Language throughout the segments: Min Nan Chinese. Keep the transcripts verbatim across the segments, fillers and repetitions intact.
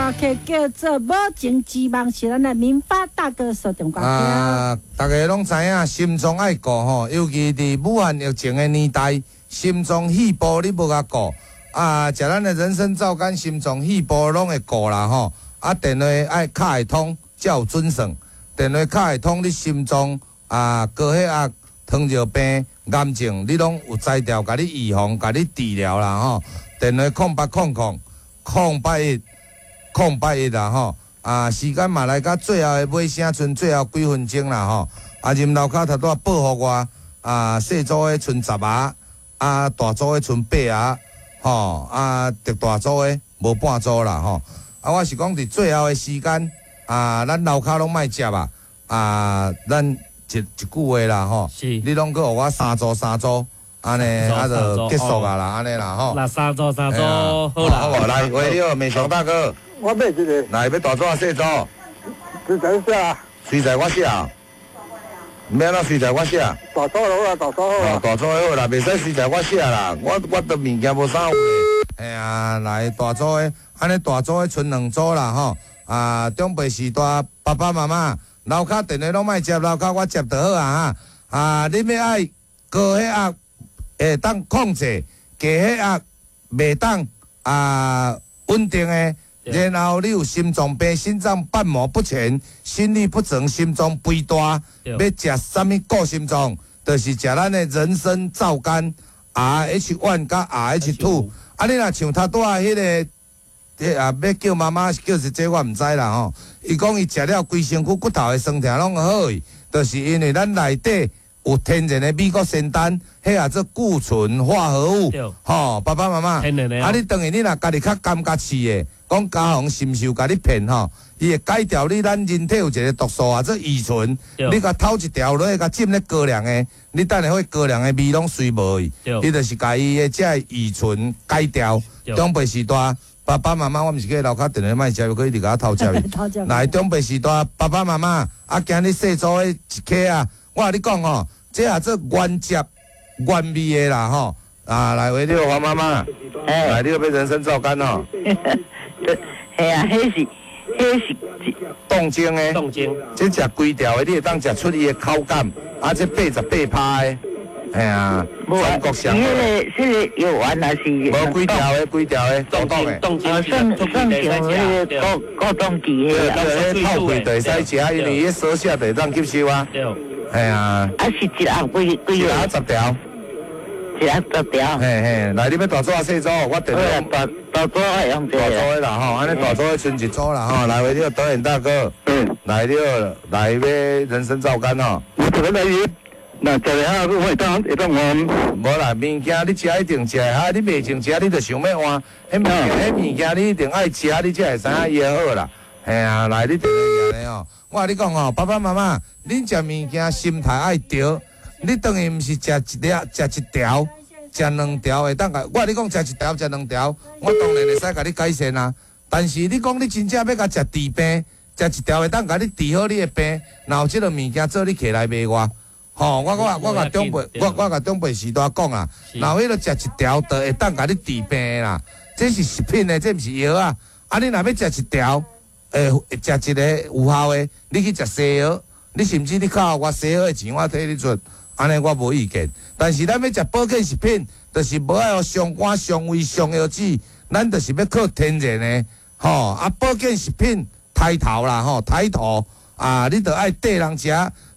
歌曲叫做《无情之夢》，是咱的民發大哥所唱歌曲。啊，大家攏知影，心臟愛顧吼，尤其佇武漢疫情的年代，心臟肺部你無共顧啊，食咱的人參皂苷，心臟肺部攏會顧啦吼。啊，電話愛敲會通，才有準算。電話敲會通，你心臟啊高血壓、糖尿病、癌症，你攏有才調，共你預防、共你治療啦吼。電話空八空空空八一空八一啦吼。啊，時間嘛來到最後的尾聲，賰最後幾分鐘啦吼。啊，任樓跤頭拄仔報予我，啊，細組的賰十盒，啊，大組的賰八盒，吼，啊，特大組的無半組啦吼。啊，我是講佇最後的時間，啊，咱樓跤攏莫接啊，啊，咱一一句話啦吼，是你攏閣予我三組三組，按呢啊就結束啊啦，按呢啦吼。那三組三組好啦。好無來，喂，你好，美雄大哥，我買一個，來欲大組抑細組？隨在寫啊，隨在我寫，欲按怎隨在我寫？大組好啦，大組好啦。大組好啦，袂使隨在我寫啦，我我的物件無啥有的。嘿啊，來大組的，按呢大組的賰兩組啦吼。啊，長輩時代爸爸媽媽，樓跤電話攏莫接，樓跤我接就好啊哈。啊，你欲愛高血壓會當控制，低血壓袂當啊穩定的。然後你有心臟病、心臟瓣膜不全、心律不整、心臟肥大，欲食啥物顧心臟？就是食咱的人參皂苷 R H one 佮 R H two。啊，你若像頭拄仔彼個，啊，欲叫媽媽叫是這我毋知啦吼。伊講伊食了規身軀骨頭的酸痛攏好去，就是因為咱內底有天然的美國仙丹，彼叫做固醇化合物。吼，爸爸媽媽，啊，你等於你若家己較感覺試的，講家紅是毋是有共你騙吼？伊會改掉你咱人體有一個毒素啊，做乙醇，你共偷一條落去，共浸咧高粱的，你等下彼高粱的味攏隨無去。伊就是共伊的這個乙醇改掉。長輩時代，爸爸媽媽，我毋是叫樓跤電話莫接，閣一直共我偷接去。來，長輩時代，爸爸媽媽，啊，今日細組的一克啊，我共你講吼，這叫做原汁原味的啦吼。啊，來，喂，你好，黃媽媽，來，你欲買人參皂苷吼。係啊，彼是彼是凍精的，凍精，這食規條的，你會當食出伊的口感，啊，這八十八趴的，嘿啊，全國上。彼个彼个藥丸還是？無規條的，規條的，凍凍的。凍精算算像彼個過過凍劑彼個。對，泡開就會使食，因為彼鎖寫就會當吸收啊。對。嘿啊。啊，是一盒幾幾一盒十條。一盒十條。嘿嘿，來，你欲大組抑細組？我電話大大組愛用這大組的啦吼，按呢大組的賰一組啦吼。來，喂，你好，導演大哥。嗯。來，你好，來欲人參皂苷吼。我這個來那食下我會當會當換。無啦，物件你食一定食會哈，你袂種食你就想欲換。彼物件，彼物件你一定愛食，你才會知影伊會好啦。嘿啊，來，你電話來吼。我共你講吼，爸爸媽媽，恁食物件心態愛對。你當然毋是食一粒、食一條、食兩條會當共。我共你講，食一條、食兩條，我當然會使共你改善啊。但是你講你真正欲共食治病，食一條會當共你治好你的病，若有這个物件做你揢來賣我。吼，我我我共長輩，我我共長輩時代講啊，若彼个食一條就會當共你治病啦。這是食品的，這毋是藥啊。啊，你若欲食一條，會食一个有效的，你去食西藥，你甚至你敲我西藥的錢，我替你出。按呢我無意見，但是咱欲食保健食品，就是無愛予傷肝、傷胃、傷腰子，咱就是欲靠天然的，吼啊！保健食品抬頭啦，吼抬頭啊！你著愛綴人食，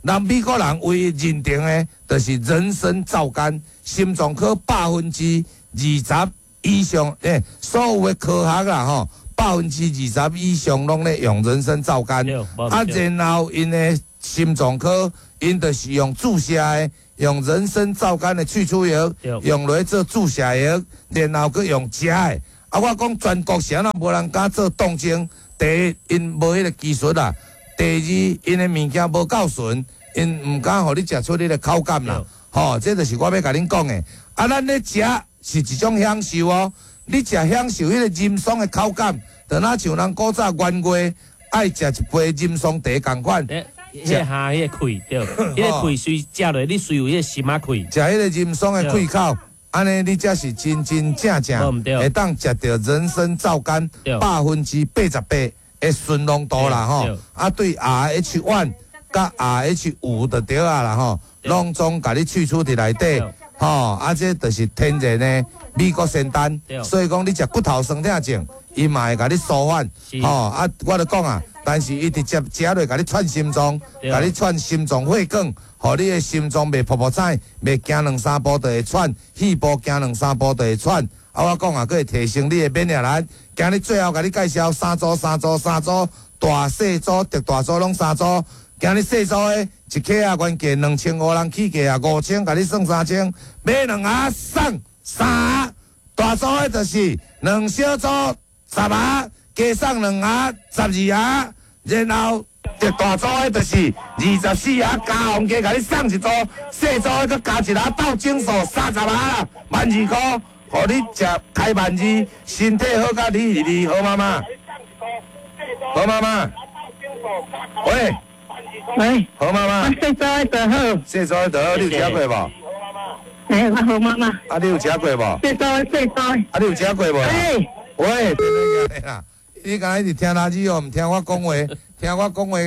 人美國人唯一認定的，就是人參皂苷，心臟科百分之二十以上，欸，所有的科學啦，吼，百分之二十以上攏咧用人參皂苷，啊，然後𪜶的心臟科。𪜶就是用注射的，用人參皂苷的萃取液，用來做注射液，然後閣用食的。啊，我講全國是按怎無人敢做凍精？第一，𪜶無彼个技術啦；第二，𪜶的物件無夠純，𪜶毋敢予你食出彼个口感啦。吼，這就是我欲共恁講的。啊，咱咧食是一種享受哦。你食享受彼个啉爽的口感，就若像人古早元月愛食一杯啉爽茶仝款。彼个蝦彼个氣對，彼个氣隨食落，你隨有彼个心仔氣。食彼个啉爽的氣口，按呢你才是真真正正會當食著人參皂苷百分之八十八的純濃度啦吼。啊，對 R H one 佮 R H 五就對啊啦吼，攏總共你去除佇內底吼。啊，這就是天然的美國仙丹，所以講你食骨頭酸痛症，伊嘛會共你舒緩吼。啊，我就講啊，但是伊直接食落共你串心臟，共你串心臟血管。予你的心臟袂噗噗跩，袂行兩三步就會喘，肺部行兩三步就會喘。啊，我講啊，閣會提升你的免疫力。今日最後共你介紹三組、三組、三組，大細組、特大組攏三組。今日細組的一克啊，原價兩千五，人起價啊五千，共你算三千，買兩盒送三盒。大組的就是兩小組十盒，加送兩盒十二盒，然後。特大組的就是二十四盒加紅加共你送一組，細組的閣加一盒鬥整數三十盒啦，萬二箍，予你食開萬二，身體好甲你二二，好媽媽，好媽媽，喂，喂，好媽媽，我細組的就好，細組的就好，你有食過無？欸，我好媽媽。啊，你有食過無？細組細組。啊，你有食過無？欸，喂，啦，你敢若一直聽垃圾哦，毋聽我講話。聽我講話，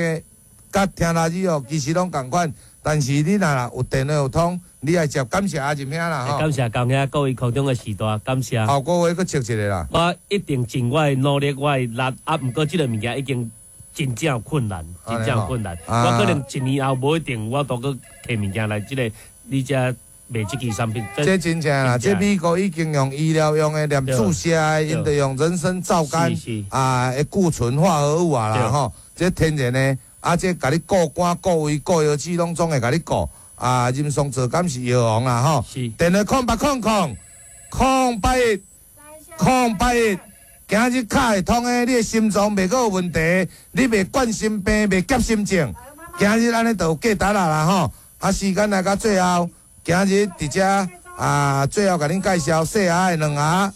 佮聽垃圾哦，其實攏仝款。但是你若有電話有通，你愛接，感謝阿仁兄啦吼。感謝江兄各位空中的時代，感謝。後個月閣抽一個啦。我一定盡我的努力，我的力啊，毋過這個物件已經真正有困難，真正有困難。我可能一年後無一定，我都閣提物件來這個你遮賣這支產品。這真正啦，這美國已經用醫療用的，連注射的，𪜶就用人參皂苷啊，的固醇化合物啊啦吼。這天然的，啊，這共你顧肝、顧胃、顧腰子，攏總會共你顧。啊，人參皂苷是藥王啦吼。電話空八空空空八一空八一，今日卡會通的，你的心臟袂閣有問題，你袂冠心病，袂夾心症。今日按呢就有價值啦啦吼。啊，時間來到最後，今日佇遮啊，最後共恁介紹細盒的兩盒，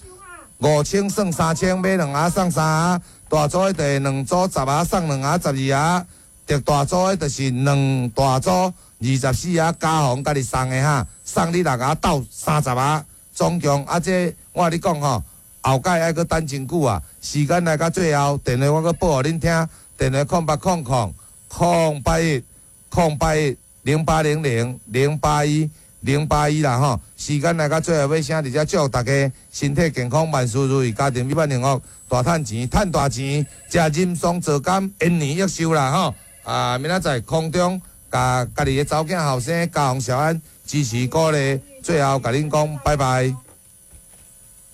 五千算三千，買兩盒送三盒。大組的就是兩組十盒送兩盒十二盒，特大組的就是兩大組二十四盒加紅共你送的哈，送你六盒鬥三十盒，總共啊這我共你講吼，後蓋愛閣等真久啊，時間來到最後，電話我閣報予恁聽，電話空八空空空八一空八一零八零零零八一零八一啦吼，時間來到最後，欲聲佇遮祝福大家身體健康，萬事如意，家庭美滿幸福，大趁錢，趁大錢，食人參皂苷，延年益壽啦吼！啊，明仔載空中，共家己的查某囝後生嘉宏小安支持鼓勵，最後共恁講拜拜。